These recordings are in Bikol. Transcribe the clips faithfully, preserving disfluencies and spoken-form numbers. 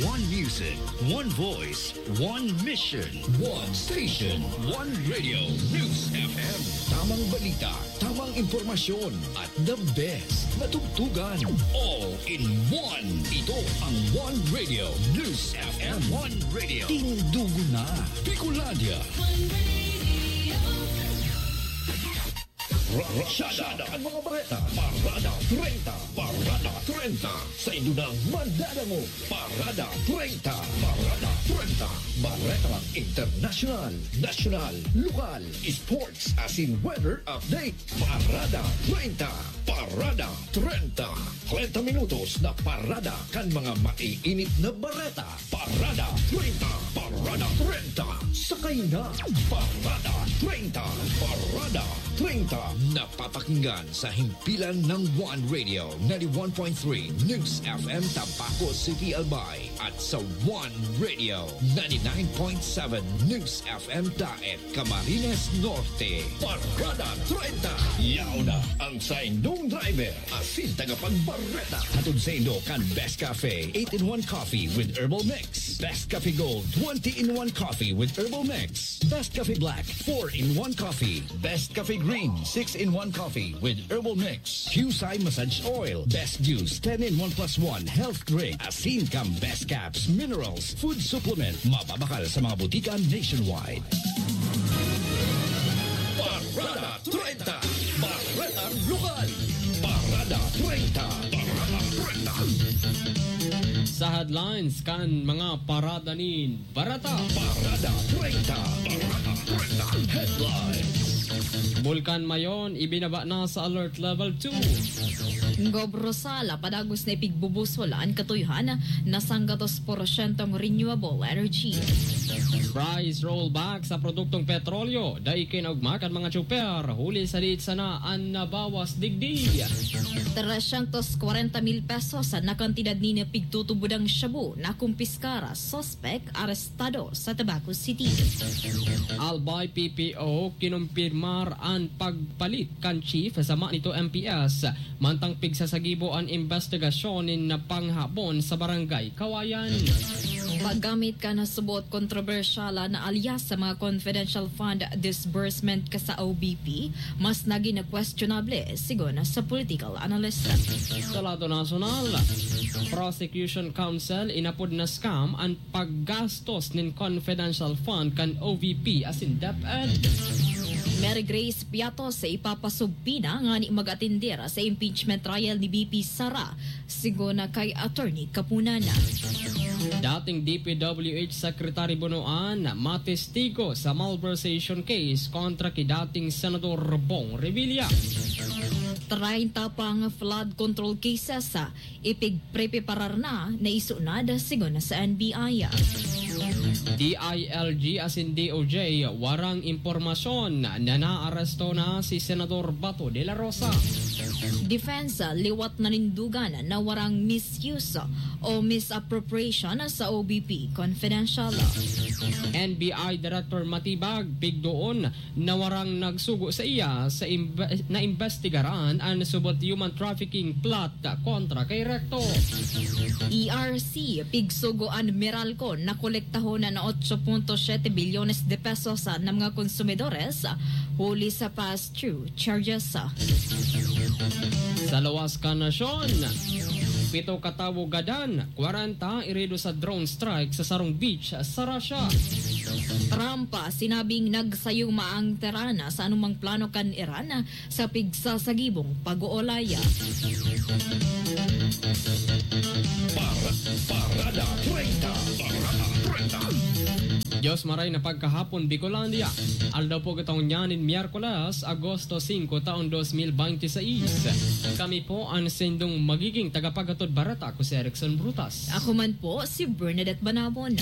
One music, one voice, one mission, one station, one radio, News F M. Tamang balita, tamang impormasyon, at the best na tugtugan. All in one. Ito ang One Radio, News F M. One Radio. Tindugo na, Bicolandia. Rasyada ang mga bareta. Parada treinta. Parada treinta. Sa indo na madadangog. Parada treinta. Parada treinta. Baretang internasyonal, nasyonal, lokal, sports, asin weather update. Parada treinta. Parada treinta. Treinta minutos na parada kan mga maiinit na bareta. Parada treinta. Parada treinta. Sakay na. Parada treinta. Parada treinta. Napapakinggan sa himpilan ng One Radio, ninety-one point three News F M Tabaco City, Albay, at sa One Radio, ninety-nine point seven News F M Daet, Camarines Norte. Parada treinta. Yaon na ang saindong driver asin tagapagbareta. Hatod saindo kan Best Cafe eight-in-one Coffee with Herbal Mix, Best Cafe Gold twenty-in-one Coffee with Herbal Mix, Best Cafe Black four-in-one Coffee, Best Cafe Green six-in-one Coffee with Herbal Mix, Qcye Massage Oil, Best Juice ten-in-one plus one Health Drink, asin kan Best Caps Minerals Food Supplement, mababakal sa mga butika nationwide. Parada treinta. Baretang lokal. Parada treinta. Parada treinta. Sa headlines kan mga parada nin bareta. Parada treinta. Parada treinta. Headlines. Bulkan Mayon ibinaba na sa Alert Level two. Gob Rosal, padagos na ipigbubusol an katuyohan, na sanggatos porsyentong renewable energy. Price rollback sa produktong petrolyo, dai kinaugma kan mga tsuper, huli sa diit sana an nabawas digdi. Tresyentos kwarenta mil pesos na kantidad nin pigtutubodang shabu nakumpiskar, suspek arestado sa Tabaco City. Albay P P O kinumpirmar an pagpalit kan chief sa Manito M P S, mantang pigsasagibo an imbestigasyon nin panghabon sa Barangay Kawayan. Paggamit kan subot kontrobersyal na alias sa mga confidential fund disbursement ka sa O B P, mas nagin questionable, sigon sa political analyst. Sa lado nasyonal, Prosecution Council inapod na scam an paggastos nin confidential fund kan O V P asin DepEd. Mary Grace Piatos ipapasubpina ngani mag-atender sa impeachment trial ni V P Sara, sigon na kay Attorney Kapunan. Dating D P W H Secretary Bonoan matestigo sa malversation case kontra ki dating Senador Bong Revilla. Treinta pang flood control cases, ah, ipigpreparar na na isunod, sigon na sa N B I. D I L G asin D O J, warang impormasyon na naaresto na si Senador Bato de la Rosa. Defense, liwat na nindugan na warang misuse o misappropriation sa O B P confidential. N B I Director Matibag, pigdoon na warang nagsugo sa iya sa imbe-, naimbestigaran an subot human trafficking plot kontra kay Recto. E R C, pigsugo an Meralco na kolektahon na otso punto siyete bilyones de pesos na mga konsumidores huli sa pass-through charges. Sa luwas kan nasyon, pito katawo gadan, kwarenta irido sa drone strike sa sarong beach sa Russia. Trump, sinabing nagsayuma ang Tehran sa anumang plano kan Iran sa pigsasagibong pag-oolay. Para, Parada treinta. Parada treinta. Diyos maray na pagkahapon, Bicolandia. Aldaw po kitang ngunyan nin Miyerkules, Agosto singko, taon dos mil bente seis. Kami po an sindong magiging tagapaghatod bareta, ako si Erickson Brutas. Ako man po, si Bernadette Banabon.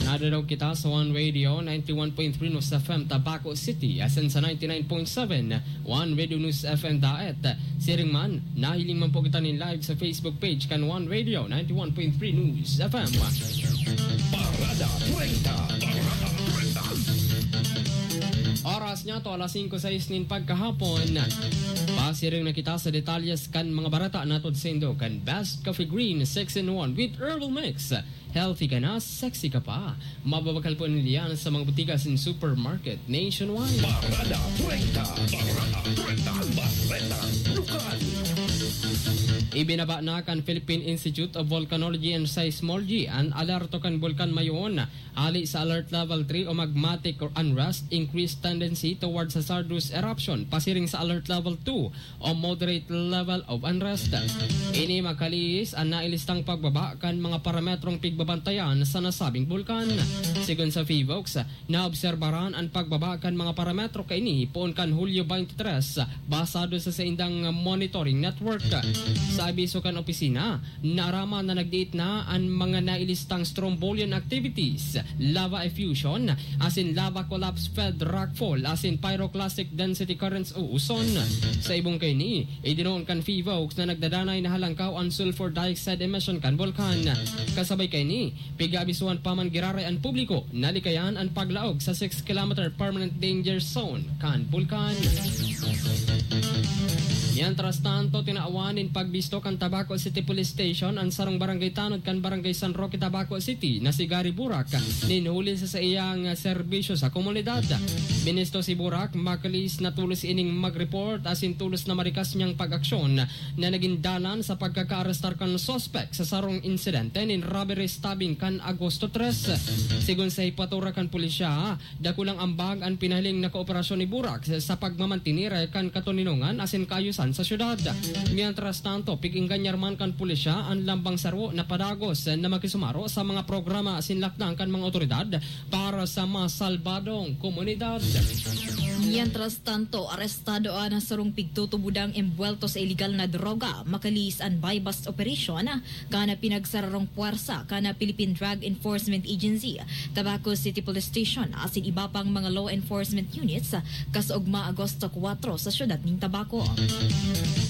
Nadadaog kita sa One Radio, ninety-one point three News F M Tabaco City, asin sa ninety-nine point seven One Radio News F M Daet. Siring man, nahiling man po kita nin live sa Facebook page kan One Radio, ninety-one point three News F M. Parada treinta. Parada treinta. Oras Niato alas singko sais nin pagkahapon. Pasiring na kita sa detalyes kan mga bareta na hatod saindo kan Best Coffee Green six in one with Herbal Mix. Healthy ka na, sexy ka pa. Mababakal po ninda yan sa mga botika asin supermarket nationwide. Parada treinta. Parada treinta. Bareta lokal. Ibinaba na kan Philippine Institute of Volcanology and Seismology an alerto kan Bulkan Mayon. Hali sa Alert Level three o magmatic or unrest, increased tendency towards hazardous eruption, pasiring sa Alert Level two o moderate level of unrest. Ini makalihis an nailistang pagbaba kan mga parametrong pigbabantayan sa nasabing bulkan. Sigon sa PHIVOLCS, naobserbaran an pagbaba kan mga parametro kaini poon kan Hulyo twenty-three, basado sa saindang monitoring network. Sa abiso kan opisina, naaraman na nagdiit na an mga nailistang strombolian activities, lava effusion, asin lava collapse fed rockfall, asin pyroclastic density currents o uson. Sa ibong kaini, idinoon kan PHIVOLCS na nagdadanay na halangkaw an sulfur dioxide emission kan bulkan. Kasabay kaini, pig-aabisuhan pa man giraray an publiko na likayan an paglaog sa six kilometer permanent danger zone kan bulkan. Mientras tanto, tinawan nin pagbisto kan Tabaco City Police Station an sarong barangay tanod kan Barangay San Roque, Tabaco City, na si Gary Burak, nin huli sa saiyang serbisyo sa komunidad. Binisto si Burak, makalihis na tolos ining mag-report asin tolos na marikas niyang pag-aksyon na nagin dalan sa pagkakaarestar kan suspek sa sarong insidente nin robbery stabbing kan Agosto tres. Sigon sa hepatura kan pulisya, dakulang ambag an pinahiling na kooperasyon ni Burak sa pagmamantener kan katoninongan asin kaayusan sa syudad. Mientras tanto, pig-engganyar man kan pulisya an lambang saro na padagos na makisumaro sa mga programa asin lakdang kan mga otoridad para sa mas salbadong komunidad. Mientras tanto, arestado an sarong pigtutubodang embuwelto sa iligal na droga, makalihis an buy-bust operation kan pinagsararong puwersa kan Philippine Drug Enforcement Agency, Tabaco City Police Station, asin iba pang mga law enforcement units, kasaugma Agosto kuwatro sa siyudad nin Tabaco.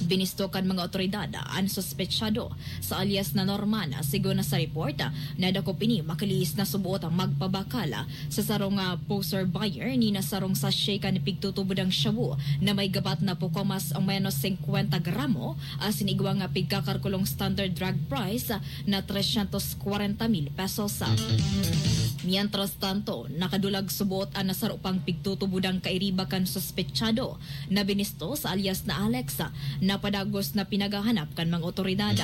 Binisto kan mga otoridad an suspetsado sa alias na Norman. Sigon na sa report, nadakop ini makalihis na suboot ang magpabakal sa sarong, ah, poser buyer ni na sarong sachet kan pigtutubodang shabu na may gabat na poko mas o menos singkwenta gramo, asin igwa nga pigkakalkulong standard drug price na trescientos kwarenta mil pesos. Mientras tanto, nakadulag suboot an nasaro pang pigtutubodang kairiba kan suspetsado na binisto sa alias na Alex, na padagos na pinaghahanap kan mga otoridad.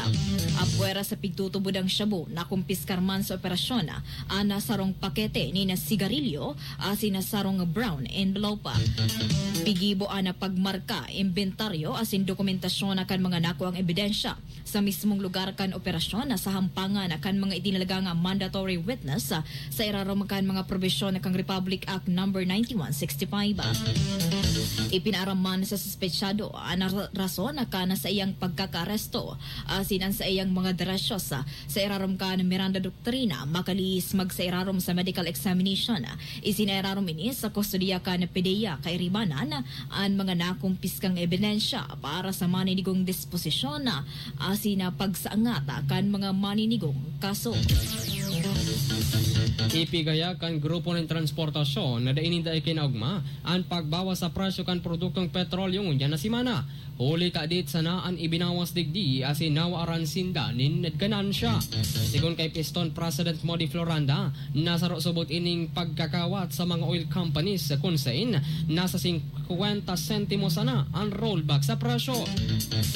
Apwera sa pigtutubodang shabu, nakumpiskar man sa operasyon an sarong pakete nin sigarilyo asin sarong brown envelope. Pigibo an pagmarka, imbentaryo asin dokumentasyon kan mga nakuang ebidensya sa mismong lugar kan operasyon na sa hampangan kan mga itinalagang mandatory witness sa irarom kan mga probisyon kan Republic Act Number ninety-one sixty-five. Ipinaaram man sa suspetsado an ra-, rason kan saiyang pagkakaaresto asin an saiyang mga derechos sa irarom kan Miranda Doctrina, makalihis magsairarom sa medical examination. Isinairarom ini sa kustodiya kan PDEA Kairibanan an mga nakumpiskang ebidensya para sa maninigong disposisyon asin pagsaangat kan mga maninigong kaso. Ipigaya kan grupo nin transportasyon na dai ninda ikinaogma an pagbawas sa presyo kan produktong petrolyo ngunyan na semana. Huli ta dai sana an ibinawas digdi asin nawaran sinda nin ganansya. Sigon kay Piston President Modi Floranda, nasaro subot ining pagkakawat sa mga oil companies kun sain nasa singkwenta sentimo sana an rollback sa presyo.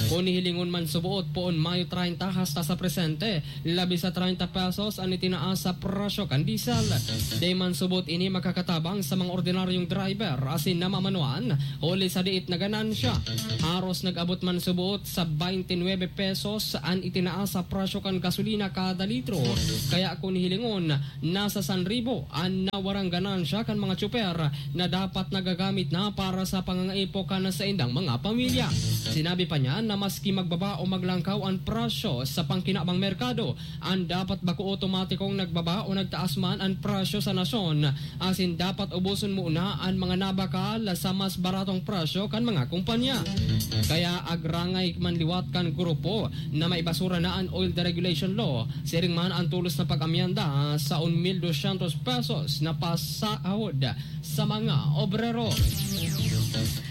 Kun hihilingon man subot poon Mayo treinta hasta sa presente, labi sa treinta pesos an itinaas sa presyo kan diesel. Dai man subot ini makakatabang sa mga ordinaryong driver asin namamanuan huli sa diit na ganansya. Haros nag-abot man subot sa twenty-nine pesos an itinaas sa presyo kan gasolina kada litro. Kaya kun hilingon, nasa san ribo an nawarang ganansya kan mga tsuper na dapat nagagamit na para sa pangangaipo kan saindang mga pamilya. Sinabi pa niya na maski magbaba o maglangkaw an presyo sa pangkinabang merkado, an dapat bako otomatikong nagbaba o nagtaas man an presyo sa nasyon, asin dapat uboson muna an mga nabakal sa mas baratong presyo kan mga kumpanya. Kaya agrangay man liwat kan grupo na maibasura na an Oil Deregulation Law, siring man an tolos na pag-amyenda sa un mil dosyentos pesos na pasahod sa mga obrero.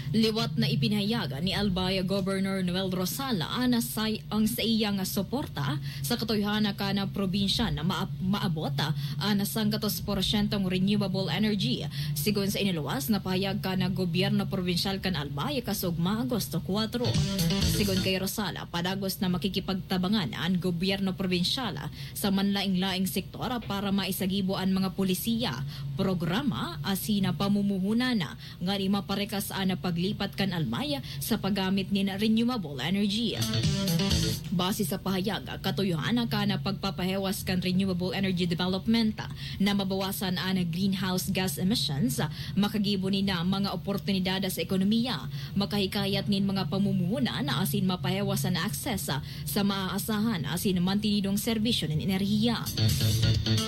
Liwat na ipinahayag ni Albay Governor Noel Rosal an say-, ang saiyang suporta sa katuyohan na kan probinsya na maap-, maabot an sanggatos porsyentong renewable energy, sigon sa iniluwas na pahayag kan gobyerno probinsyal kan Albay kasugma Agosto kuwatro. Sigon kay Rosal, padagos na makikipagtabangan an gobyerno probinsyal sa manlaing-laing sektor para maisagibo an mga polisiya, programa asin pamumuhunan ngani maparekas an paglipat kan Albay sa paggamit nin renewable energy. Base sa pahayag, katuyohan kan pagpapahewas kan renewable energy development na mabawasan an greenhouse gas emissions, makagibo nin mga oportunidad sa ekonomiya, makahikayat nin mga pamumuhunan asin mapahewas an access sa maaasahan asin mantinidong serbisyo nin enerhiya.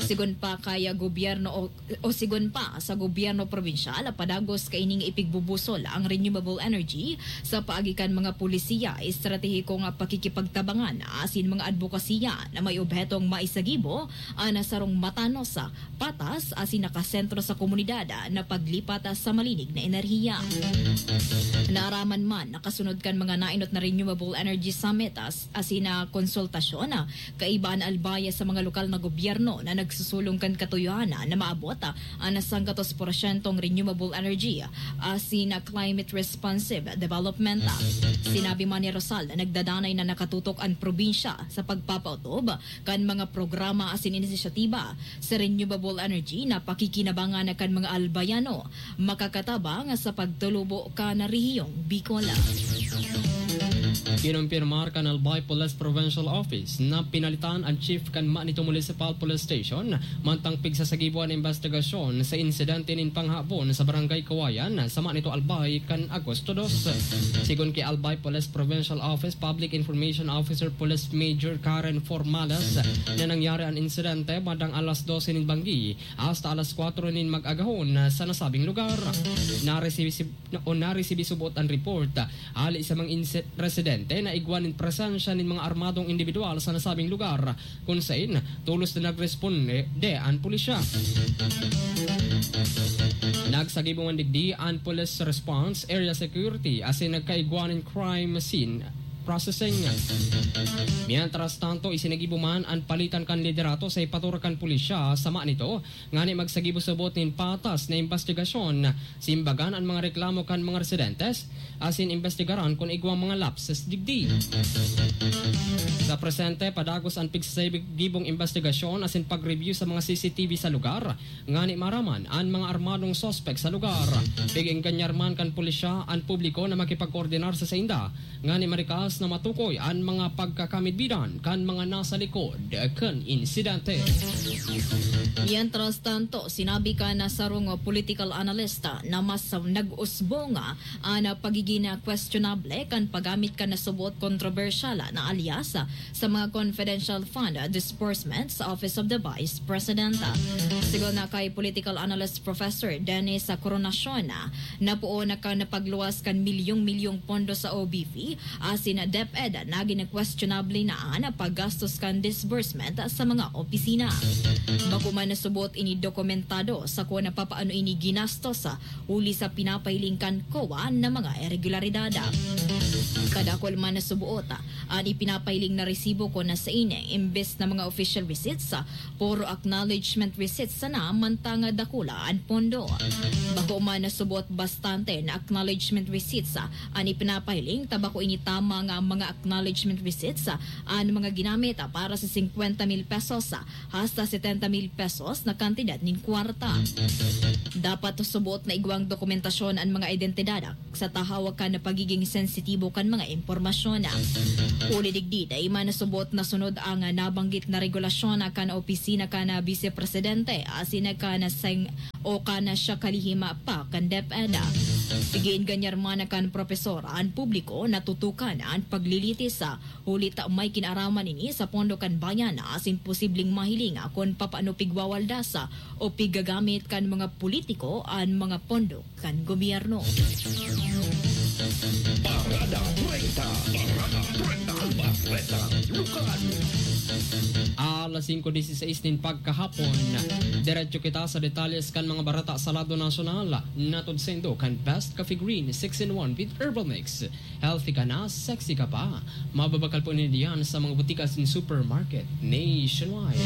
Sigon pa kay gobyerno o, o sigon pa sa gobyerno probinsyal, padagos kaining ipigbubusol ang renewable energy sa paagi kan mga polisiya, estratehikong pakikipagtabangan asin mga adbokasiya na may obhetong maisagibo an sarong matanos, patas asin nakasentro sa komunidad na paglipat sa malinig na enerhiya. Naaraman man, nakasunod kan mga nainot na Renewable Energy Summit as-, asin na konsultasyon, kaiba an Albay sa mga lokal na gobyerno na nagsusulong kan katuyohan na maabot an sanggatos porsyentong renewable energy asin climate responsive development. Sinabi man ni Rosal na nagdadanay na nakatutok an probinsya sa pagpapaotob kan mga programa asin inisyatiba sa renewable energy na pakikinabangan kan mga Albayano, makakatabang sa pagtulubo kan rehiyong Bicol. Kinumpirmar kan Albay Police Provincial Office na pinalitan an chief kan Manito Municipal Police Station, mantang pigsasagibo an imbestigasyon sa insidente nin panghabon sa Barangay Kawayan sa Manito, Albay, kan Agosto dos. Sigon ki Albay Police Provincial Office Public Information Officer Police Major Karen Formales, na nangyari an insidente bandang alas dose nin banggi hasta alas kwatro nin mag-agahon sa nasabing lugar. Naresibi-, o naresibi subot an report hali sa mga inse-, residente na igwa nin presensya nin mga armadong indibidwal sa nasabing lugar, kun sain tolos na nagresponde an pulisya. Nagsagibo man digdi an Police Response Area Security asin nagkaigwa nin crime scene processing. Mientras tanto, isinagibo man an palitan kan liderato sa ipatoor kan pulisya sa Manito, ngani magsagibo subot nin patas na imbestigasyon, simbagan an mga reklamo kan mga residentes, asin imbestigaran kun igwang mga lapses digdi. Sa presente, padagos an pigsasagibong imbestigasyon asin pag-review sa mga C C T V sa lugar, ngani maaraman an mga armadong suspek sa lugar. Pig-engganyar man kan pulisya an publiko na makipagkoordinar sa sainda, ngani marikas na matukoy an mga pagkakamidbidan kan mga nasa likod kan insidente. Mientras tanto, sinabi kan sarong political analyst na mas nag-usbong an pagiging questionable kan paggamit kan nasuboot kontrobersyal na alias sa mga confidential fund disbursement sa Office of the Vice President. Sigon na kay political analyst Professor Dennis Coronacion, napoon na kan pagluwas kan milyong-milyong pondo sa O B P asin DepEd, nagin questionable na an paggastos kan disbursement sa mga opisina. Bako man nasuboot ini dokumentado sa kun papaano ini ginastos, huli sa pinapahiling kan COA na mga iregularidad. Kadakul man nasuboot an ipinapahiling na resibo kun sain, imbes na mga official receipts, puro acknowledgement receipts sana, mantang dakula an pondo. Bako man nasuboot bastante na acknowledgement receipts an ipinapahiling, ta bako ini tama nga mga acknowledgement receipts an mga ginamit para sa singkwenta mil pesos hasta setenta mil pesos na kantidad nin kwarta. Dapat suboot na igwang dokumentasyon an mga identidad sa tahaw kan pagiging sensitibo kan mga impormasyon. Huli digdi, dai man nasuboot na sunod ang nabanggit na regulasyon kan opisina kan Bise Presidente asin kan seng-, o kan siya kalihim pa kan DepEd. Pig-engganyar man kan propesor an publiko na tutukan an paglilitis, huli ta may kinaaraman ini sa pondo kan bayan asin posibleng mahiling kun papaano pigwawaldas o piggagamit kan mga politiko an mga pondo kan gobyerno. Parada treinta. Parada treinta. Bareta Lokal. Alas singko dieciséis nin pagkahapon. Diretso kita sa detalles kan mga bareta sa lado nasyonal. Nahatod saindo kan Best Coffee Green six-in-one with Herbal Mix. Healthy ka na, sexy ka pa. Mababakal po ninyo diyan sa mga botika asin supermarket nationwide.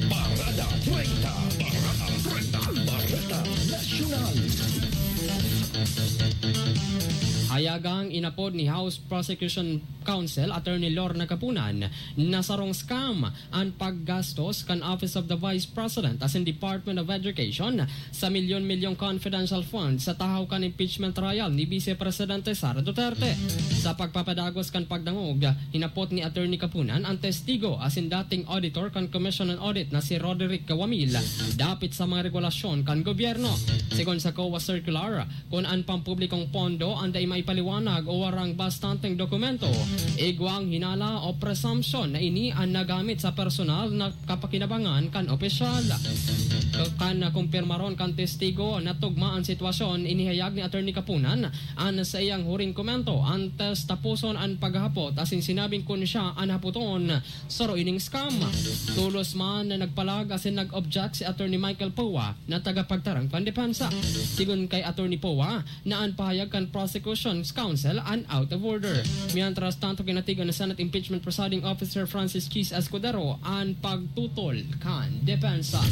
Bareta treinta, Bareta treinta, Bareta Nasyonal. Hayagang inapod ni House Prosecution Counsel Attorney Lorna Kapunan na sarong scam an paggastos kan Office of the Vice President asin Department of Education sa milyon-milyong confidential funds sa tahaw kan impeachment trial ni Vice Presidente Sara Duterte. Sa pagpapadagos kan pagdangog, hinapot ni Attorney Kapunan an testigo asin dating auditor kan Commission on Audit na si Roderick Kawamil dapit sa mga regulasyon kan gobyerno. Sigon sa COA circular, kun an pampublikong pondo an dai maipaliwanag o warang bastanteng dokumento, igwang hinala o presumption na ini an nagamit sa personal na kapakinabangan kan opisyal. Kan kumpirmaron kan testigo na tugma an sitwasyon, inihayag ni Attorney Kapunan an saiyang huring komento antes taposon an paghahapot asin sinabing kun siya an hapoton, saro ining scam. Tolos man na nagpalag asin nag-object si Attorney Michael Poa na tagapagtarang pandepensa. Sigon kay Attorney Poa, na an pahayag kan Prosecution Counsel an out of order. Mientras tanto, kinatigan na Senate Impeachment Presiding Officer Francis Chiz Escudero an pagtutol kan depensa.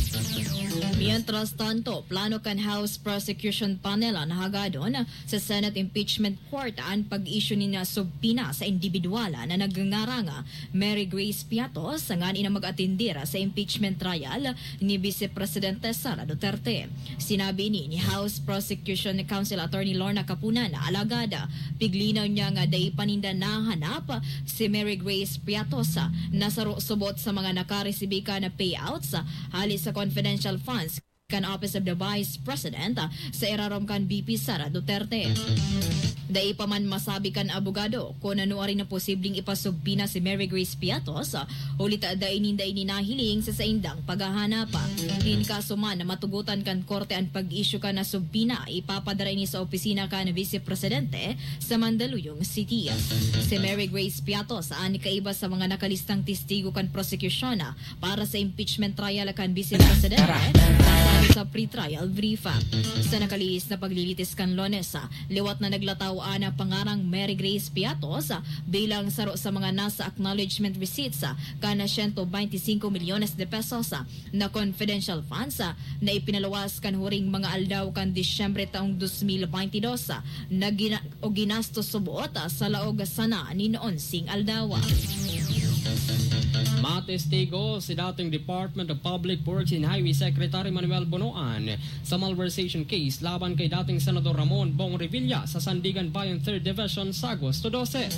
Mientras tanto, plano kan House Prosecution Panel an hagadon sa Senate Impeachment Court an pag-issue nin subpoena sa individual na nagngangarang Mary Grace Piatos, sa nganing mag-atendir sa impeachment trial ni Vice Presidente Sara Duterte. Sinabi ini ni House Prosecution Counsel Attorney Lorna Kapunan, alagad piglinaw niya nga dai pa ninda nahanap si Mary Grace Piatos na saro subot sa mga nakaresibi kan payouts hali sa confidential funds kan Office of the Vice President sa irarom kan V P Sara Duterte. Dai pa man masabi kan abogado kun ano arin na posibleng ipasubpoena si Mary Grace Piatos, huli ta dai ninda ini nahiling sa saindang paghahanap. Nin kaso man na matugotan kan korte an pag-issue kan subpoena, ipapadara ini sa opisina kan Vice Presidente sa Mandaluyong City. Si Mary Grace Piatos an kaiba sa mga nakalistang testigo kan prosekusyon para sa impeachment trial kan Vice Presidente, sa pre-trial brief. Sa nakalihis na paglilitis kan Lunes, liwat na naglataw an pangarang Mary Grace Piatos bilang saro sa mga nasa acknowledgement receipts kan siyento bente singko milyones de pesos na confidential funds na ipinaluwas kan huring mga aldaw kan Disyembre taong dos mil bente dos na gina-, o ginastos subot sa laog sana nin onseng aldaw. Matestigo si dating Department of Public Works and Highway Secretary Manuel Bonoan sa malversation case laban kay dating Senador Ramon Bong Revilla sa Sandiganbayan Third Division sa Agosto dose.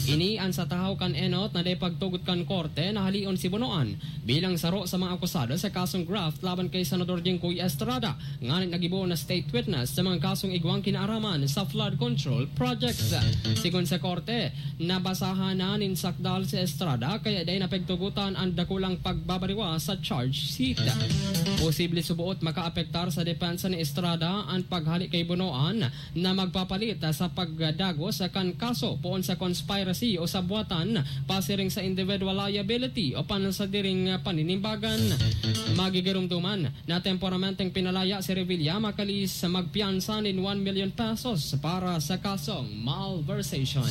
Ini an sa tahaw kan enot na dai pagtugot kan korte na halion si Bonoan bilang saro sa mga akusado sa kasong graft laban kay Senador Jinggoy Estrada, nganing naggibo na state witness sa mga kasong igwang kinaaraman sa flood control projects. Sigon sa korte, nabasahan na nin sakdal si Estrada kaya dai napigtugotan an dakulang pagbabariwa sa charge sheet. Posible suboot makaapektar sa depensa ni Estrada an paghali kay Bonoan na magpapalit sa pagdagos kan kaso poon sa conspiracy o sabwatan pasiring sa individual liability o pansadiri ning paninimbagan. Magigiromdoman na temporamenteng pinalaya si Revilla makalihis magpiyansa nin one million pesos para sa kasong malversation.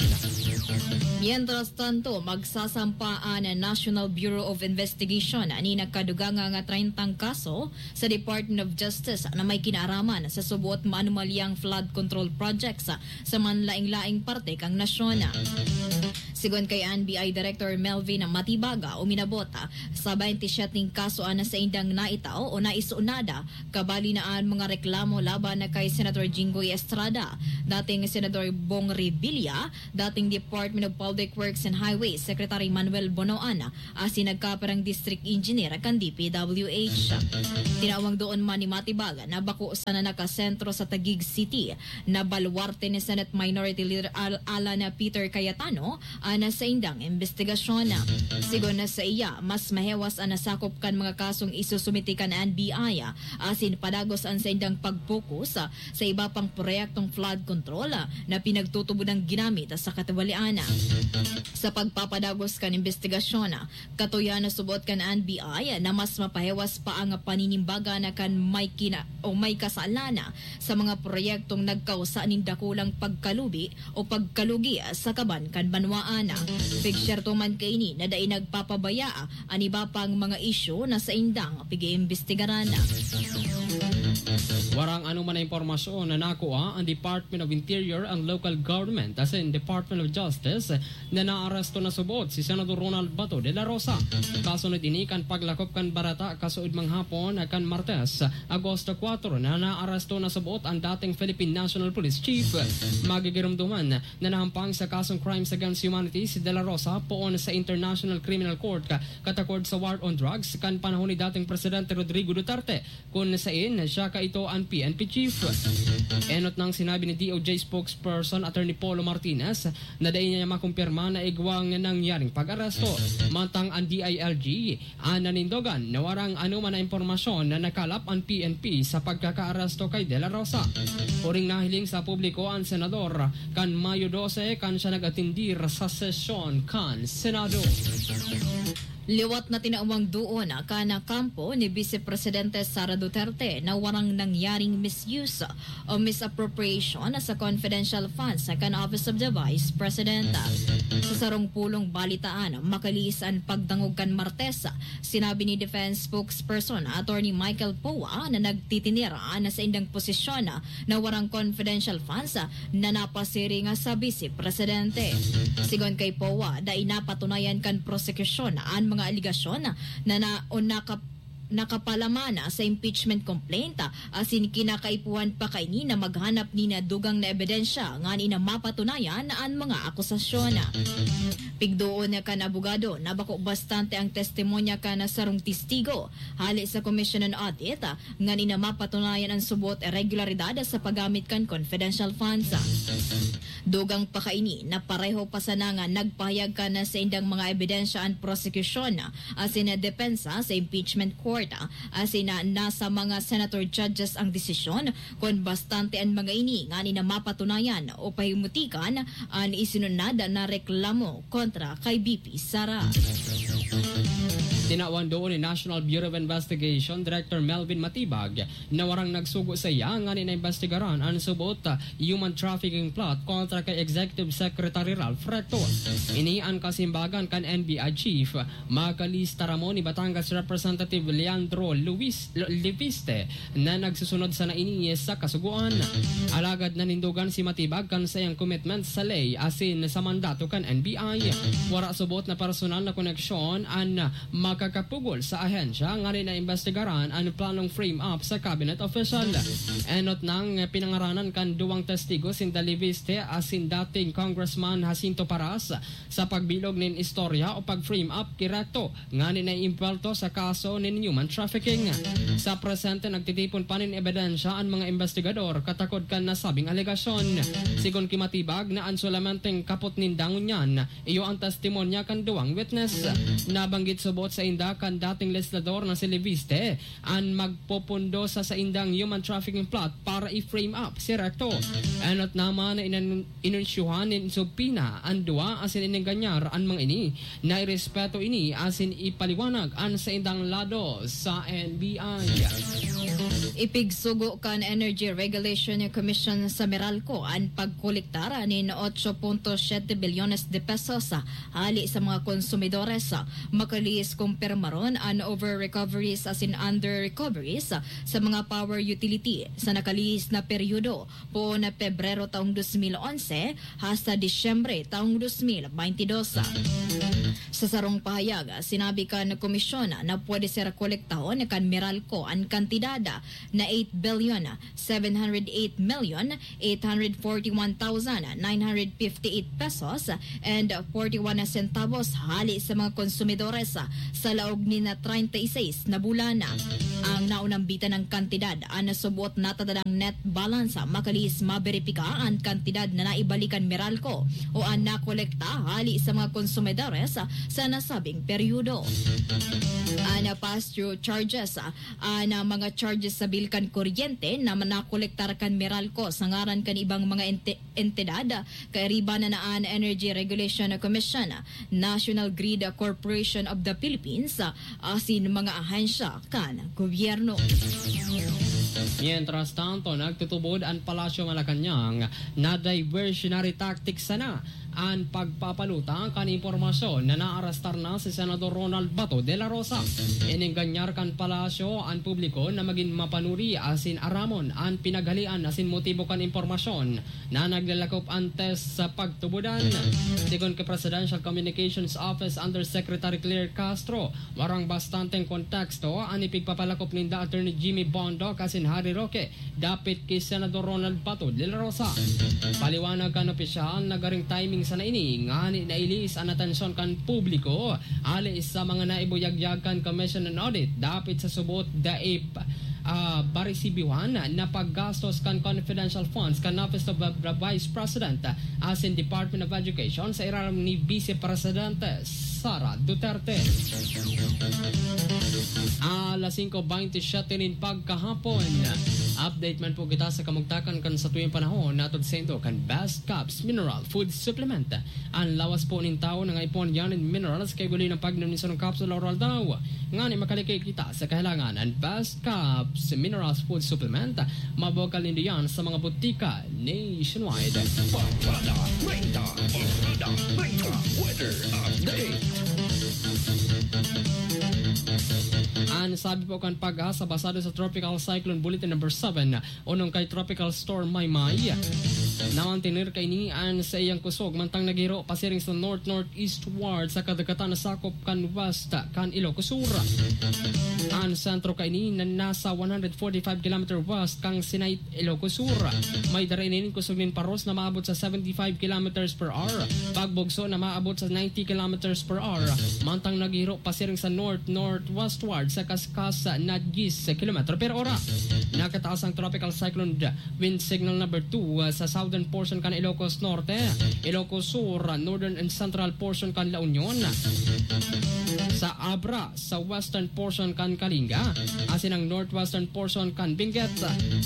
Mientras tanto, magsasampa an National Bureau of Investigation nin nagkadugang nga treyntang kaso sa Department of Justice na may kinaaraman sa suboot maanomalyang flood control projects sa manlaing-laing parte kan nasyon. Sigon kay N B I Director Melvin Matibaga, uminabot sa bente siyete nin kaso an saindang naitao o naisunada, kabali na an mga reklamo laban kay Senator Jinggoy Estrada, dating Senador Bong Revilla, dating Department of Public Works and Highways Secretary Manuel Bonoan, asin nagkaparang district engineer kan D P W H. Tinawang doon man ni Matibaga na bako sana nakasentro sa Taguig City na baluarte ni Senate Minority Leader Al-, Alan Peter Cayetano na saindang imbestigasyon. Sigon na sa iya, mas mahewas an nasakop kan mga kasong isusumiti kan N B I, asin padagos an saindang pag-focus sa iba pang proyektong flood control na pinagtutubod ang ginamit sa katiwalian. Sa pagpapadagos kan imbestigasyon, katuya na subot kan N B I na mas mapahewas pa ang paninimbagan kan may kina- o may kasalan sa mga proyektong nagkausa nin dakulang pagkalubi o pagkalugi sa kaban kan banwaan. Pigsyerto man kaini na dai nagpapabaya an iba pang mga isyu na saindang pag-iimbestigaran. Warang anoman na impormasyon na nakua ang Department of Interior and Local Government asin Department of Justice na naaresto na subot si Senador Ronald Bato de la Rosa. Kasunod ini kan paglakop kan bareta kasuodmang hapon kan Martes, Agosto kuwatro, na naaresto na subot ang dating Philippine National Police Chief. Magigiromdoman na nahampang sa kasong crimes against humanity si de la Rosa poon sa International Criminal Court katakod sa war on drugs kan panahon ni dating Presidente Rodrigo Duterte, kun sain siya kaito an P N P chief. Enot nang sinabi ni D O J spokesperson Attorney Polo Martinez na dai niya makumpirma na igwang nangyaring pag-aresto. Mantang ang D I L G, an nanindogan na warang anoman na impormasyon na nakalap an P N P sa pagkakaaresto kay De La Rosa. Huring nahiling sa publiko an senador kan Mayo dose kan siya nag-atendir sa sesyon kan Senado. Liwat na tinawang duon kan kampo ni Vice Presidente Sara Duterte na warang nangyaring misuse o misappropriation sa confidential funds kan Office of the Vice President. Sa sarong pulong balitaan, makalihis an pagdangog kan Martes, sinabi ni Defense Spokesperson Attorney Michael Poa na nagtitinira na sa indang posisyon na warang confidential funds na napasiring sa Vice Presidente. Sigon kay Poa, dai napatunayan kan prosekusyon an mga aligasyon na, na o nakap- nakapalaman sa impeachment complaint, asin kinakaipuhan pa kaini na maghanap nin dugang na ebidensya nganing mapatunayan an mga akusasyon. Pigdoon kan abogado na bako bastante ang testimonya kan sarong testigo hale sa Commission on Audit nganing mapatunayan an subot irregularidad sa paggamit kan confidential funds. Dugang pa kaini na pareho pa sana nga nagpahayag kan saindang mga ebidensya an prosekusyon asin depensa sa impeachment court, asin na nasa mga senator judges ang desisyon kun bastante an mga ini nganing mapatunayan o pahimutikan an isinunad na reklamo kontra kay V P Sara. Tinawan doon ni National Bureau of Investigation Director Melvin Matibag na warang nagsugo sa iya nganing naimbestigaran an subot human trafficking plot kontra kay Executive Secretary Ralph Recto. Ini an kasimbagan kan N B I Chief, makalista ramo ni Batangas Representative Leandro Luis, Leviste, na nagsusunod sana ini sa kasugoan. Alagad nanindogan si Matibag kan saiyang commitment sa ley asin sa mandato kan N B I. Wara subot na personal na koneksyon an makakapugol sa ahensya nganing naimbestigaran an planong frame up sa cabinet official. Enot nang pinangaranan kan duwang testigo, sinda Leviste asin dating Congressman Jacinto Paras, sa pagbilog nin istorya o pag-frame up ki Recto nganing naiimbwelto sa kaso nin human trafficking. Sa presente, nagtitipon pa nin ebidensya an mga imbestigador katakod kan nasabing alegasyon. Sigon ki Matibag na an solamenteng kapot ninda ngunyan iyo an testimonya kan duwang witness. Nabanggit subot sainda kan dating legislador na si Leviste an magpopondo sa saindang human trafficking plot para i-frame up si Recto. Enot naman na inan- inunsyuhan nin subpoena an duwa asin inenganyar an mga ini. Nairespeto ini asin ipaliwanag an saindang lado sa N B I. Ipigsugo kan Energy Regulation Commission sa Meralco an pagkolektar nin ocho punto siete bilyones de pesos hale sa mga konsumidores. Makalihis kumpirmaron an over-recoveries asin under-recoveries sa mga power utility sa nakalihis na peryodo, poon na Pebrero taong dos mil onse hasta Disyembre taong dos mil baynte dos. Sa sarong pahayag, sinabi kan komisyon na pwede sira kolektahon kan Meralco an kantidad na eight billion seven hundred eight million eight hundred forty-one thousand nine hundred fifty-eight pesos and forty-one centavos hale sa mga konsumidores sa laog nin treinta y seis na bulan. Ang naunambitan ng kantidad, an nasubuot natadadang net balance, makalihis maberipika an kantidad na naibalik kan Meralco o an nakolekta hali sa mga konsumidores sa nasabing peryodo. An past due charges, an mga charges sa bill kan kuryente na nakolektar kan Meralco sa ngaran kan ibang mga ente-, entidad, kairiba na an Energy Regulation Commission, National Grid Corporation of the Philippines, asin mga ahensya kan gobyerno. Mientras tanto, nagtutubod an Palasyo Malacañang na diversionary tactics sana an pagpapaluta kan impormasyon na naarastar na si Senador Ronald Bato de la Rosa. Inenganyar kan Palasyo an publiko na magin mapanuri asin aramon an pinaghalian asin motibo kan impormasyon na naglalakop antes sa pagtubodan. Sigon ki Presidential Communications Office Undersecretary Claire Castro, warang bastanteng konteksto an ipigpapalakop ninda Attorney Jimmy Bondoc asin Harry Roque dapit ki Senador Ronald Bato de la Rosa. Paliwanag kan opisyal, nagaring timing sana ini ngani nailihis an atensyon kan publiko hali sa mga naibuyagyag kan Commission on Audit dapit sa suboot dai ah, paresibihan na paggastos kan confidential funds kan Office of the Vice President asin Department of Education sa irarom ni Vice Presidente Sara Duterte. Alas singko beintisyete nin pagkahapon. Update man po kita sa kamugtakan kan satuyang panahon, hatod saindo kan Best Caps Mineral Food Supplement. An lawas po nin tawo nangaipuhan diyan nin minerals kaiba nin pag-inom nin sarong kapsula aroaldaw. Ngani makaliki kita sa kahalangan, an Best Caps Minerals Food Supplement, mabakal nindo yan sa mga butika nationwide. Barkada treinta, Barkada treinta, weather update. An sabi po kan PAGASA, basado sa Tropical Cyclone Bulletin Number Seven, onong kay Tropical Storm Maymay, namantener kaini an saiyang kusog mantang naghiro pasiring sa north-northeastward sa kadagatan na sakop kan west kan Ilocos Sur. An sentro kaini na nasa one hundred forty-five kilometer west kan Sinait, Ilocos Sur. May dara ini nin kusog nin paros na maabot sa seventy-five kilometers per hour, pagbugso na maabot sa ninety kilometers per hour, mantang naghiro pasiring sa north-northwestward sa kaskas na diyes kilometro per ora. Nakataas ang Tropical Cyclone Wind Signal Number two, ah, sa southern portion kan Ilocos Norte, Ilocos Sur, northern and central portion kan La Union, sa Abra, sa western portion kan Kalinga, asin ang northwestern portion kan Benguet.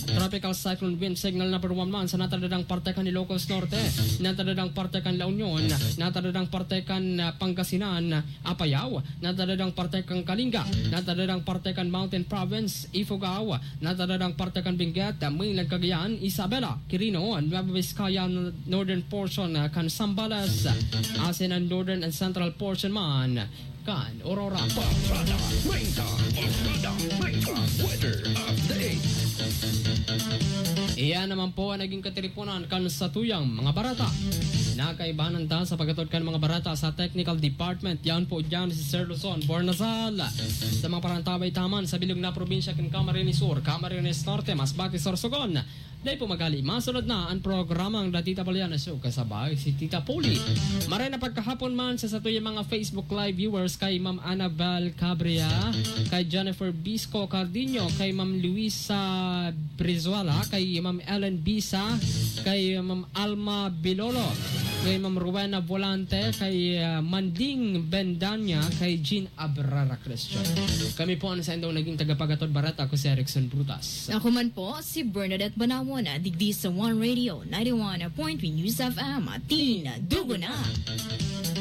Tropical Cyclone Wind Signal Number one man sa natadadang parte kan Ilocos Norte, natadadang parte kan La Union, natadadang parte kan, ah, Pangasinan, Apayao, natadadang parte kan Kalinga, natadadang parte kan Mountain Province, Ifugao, natadadang parte kan Benguet, Mainland Cagayan, Isabela, Quirino, Nueva Vizcaya, northern portion kan Zambales, asin an northern and central portion man kan Aurora. Barkada treinta, Barkada treinta, weather update. Iyan naman po ang naging katiriponan kan satuyang mga barata. Nakaibahan ta sa pagkatod kan mga barata sa technical department. Yan po dyan si Sir Luzon Bornazal. Sa mga parantabay taman sa bilog na probinsya kan Camarines Sur, Camarines Norte, Masbate, Sorsogon. Dai po magali, masunod na ang programang Datita Balian na Show kasabay si Tita Poli. Maray na pagkahapon man sa satuyang mga Facebook Live viewers, kay Ma'am Annabel Cabria, kay Jennifer Bisco Cardinho, kay Ma'am Luisa Brizuela, kay Ma'am Ellen Bisa, kay Ma'am Alma Bilolo, kay Ma'am Rowena Volante, kay, ah, Manding Bendanya, kay Jean Abrara Christian. Kami po ang saindong naging tagapagatod barata, ako si Erickson Brutas. Ako man po, si Bernadette Banawon, digdi sa One Radio, ninety-one point three News F M, Tin Dugo Na.